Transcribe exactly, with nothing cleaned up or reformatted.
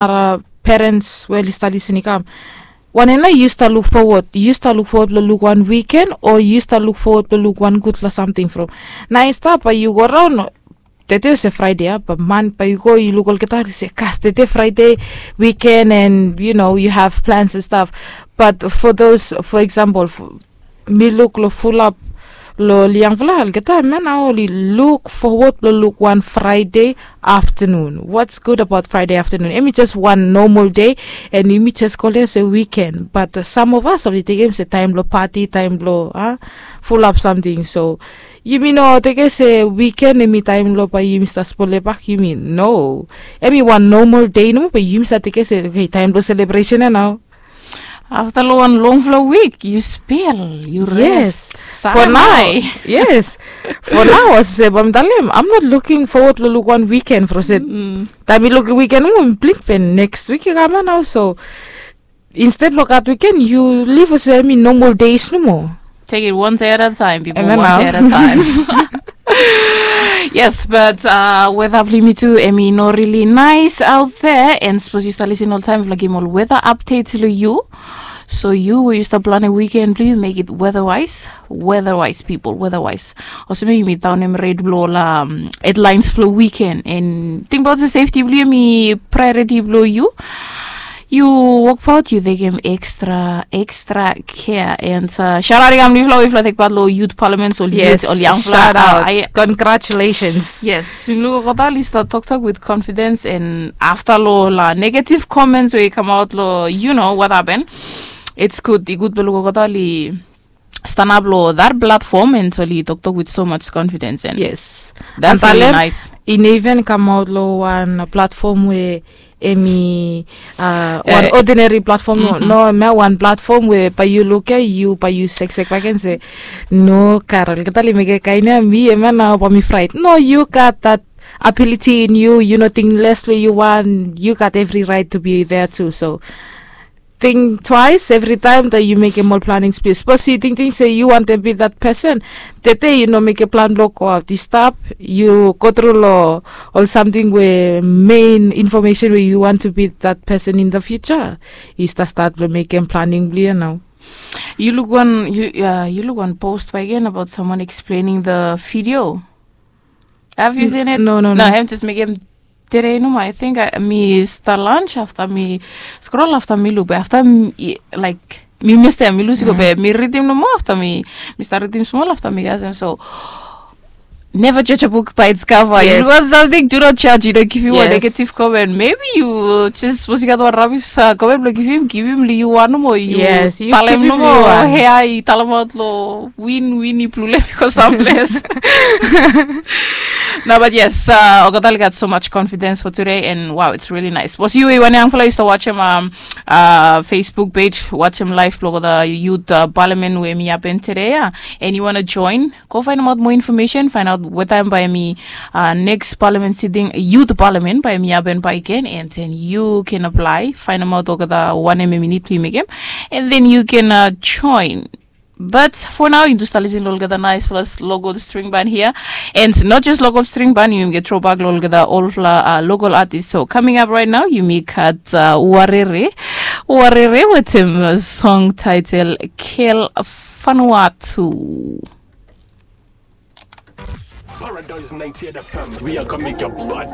nara perens we oli stap lisin i kam. Wanem nao yu stap luk fowod, yu stap luk fowod blong luk wan wiken o yu stap luk fowod blong luk wan gudfala samting from? Nao i stap bae yu go raon, tede olsem fraide ya, bae man bae yu go yu luk olgeta oli se, kas, tede fraide, wiken, and you know you have plans and stuff. But for those, for example, mi luk long fulap long ol yangfala, olgeta man nao oli luk fowod blong luk wan fraide aftanun. What's good about fraide aftanun? Em i jes wan nomal dei, and yumi jes kolem olsem wiken. But sam of as oli tekem olsem taem blong pati, taem blong a fulap samting. So yumi no tekem olsem wiken em i taem blong bae yumi stap spolebak yumi, no. Em i wan nomal dei nomo, bae yumi stap tekem olsem, oke, taem blong selebresen ya nao. Afta long wan longfala wik yu spel, yu res. Yes. For nao, yes. For nao, olsem bae mi talem, I'm not looking forward long luk wan wiken from olsem taem mi luk wiken nomo mi blink, be next wik i kam ya nao. So instead blong gat wiken, yu liv olsem em i nomal deis nomo. Take it one day at a time, people. One day at a time. Yes, but uh, weta blong yumi tu em i no really nice out there. And sapos yu stap lisin oltaem, mifala givim ol weta update long yu. So yu we yu stap planem wiken blong yu, make it weather wise. Weather wise, people, weather wise. Olsem yumi daonem ret blong ol um, headlines blong wiken. And tingbaot se safety blong yu em i priority blong yu. Yu wokbaot, yu tekem extra extra kea. And uh, shout out i kam long yufala we yufala tek pat long youth parliament, ol youth, ol yangfala. Congratulations. Yes, yumi luk olgeta oli stap toktok with confidence, and afta long ol uh, negative comments we i kamaot long, you know what happen, it's good, i gud blong luk olgeta oli stanap long that platform and oli toktok with so much confidence. And yes, that's really nice. I no even kamaot long wan platform we em i uh, wan ordinary platform, no, no, em ya wan platform we bae yu luk ya, yu bae yu seksek bakegen se, no, Carol, olgeta oli mekem kaen ya, mi em ya nao bae mi fraet. No, you got that ability in you, yu no ting les long yu wan, you got every right to be there too. So think twice every time that yu mekem ol planning. Sapos yu tingting se yu wantem be that person, tede yu no mekem plan blong go aot, yu stap, yu go tru long ol samting we main information we yu want to be that person in the future, yu stap stat blong mekem planning blong yu ya nao. Yu luk wan, yu, uh, yu luk wan post bakegen about someone explaining the video. Have you seen it? No, no, no. Em jes mekem tere nomo, I think mi stap lunch afta mi scroll afta mi luk be afta, like, mi mista mi lus i go be mi ridim nomo afta mi, mi stap ridim smol afta mi kasem. So never judge a book by its cover. Yes. Yu no samting, do not judge, yu no givim wan negative comment. Maybe yu jes sapos yu gat wan rabis comment blong givim, givim long yu wan nomo, yu talem nomo. Hea i talemaot long win, win i blulem i go samples. No, but yes, uh, olgeta oli gat so much confidence for today, and wow, it's really nice. Sapos yu we yu wan yangfala yu stap wajem um, uh, Facebook page, wajem live blong olgeta youth uh, parliament we em i hapen tede ya, and yu wan join, go faenemaot moa information, faenaot wetaem bae em i uh, next parliament sitting, youth parliament bae em i hapen bakegen, and then yu ken apply, faenemaot olgeta wanem em i nid blong yu mekem, and then yu ken uh, join. But for now, yu tu stap lisin long olgeta naesfala local string band hia. And not just local string band, yumi gat throwback long olgeta olfala uh, local artist. So coming up right now, yumi gat uh, Warere, Warere wetem uh, song title Kel Vanuatu. Paradise ninety-eight F M, we are gonna make your body